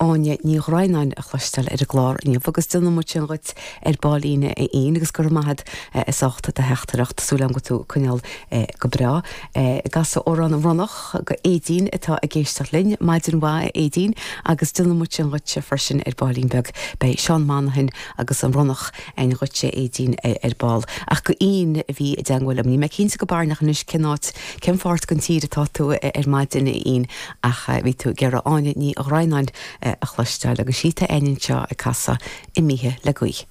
Áine Ní Dhroighneáin a chloisteáil ar an gclár inniu agus déanfaidh muid sin dhuit ar baillín a Fhinn agus go raibh maith agat as ucht do theachtaireacht. Súil agam go bhfuil tú ag coinneáil go breá. Ag casadh amhrán An Ronnach go Aedín atá ag éisteacht linn. Maidin mhaith a Aedín agus déanfaidh muid sin dhuitse freisin ar baillín beag. Beidh Seán Monaghan agus An Ronnach againn dhuitse a Aedín ar ball. Ach go Fhinn a bhí i dteangmháil liom. Níl mé cinnte go barainneach anois cén áit, cén pháirt den tír atá tú ar maidin a Fhinn ach bhí tú ag iarraidh Áine Ní Dhroighneáin a chloisteáil agus sí atá againn anseo ag casadh Imithe le Gaoth.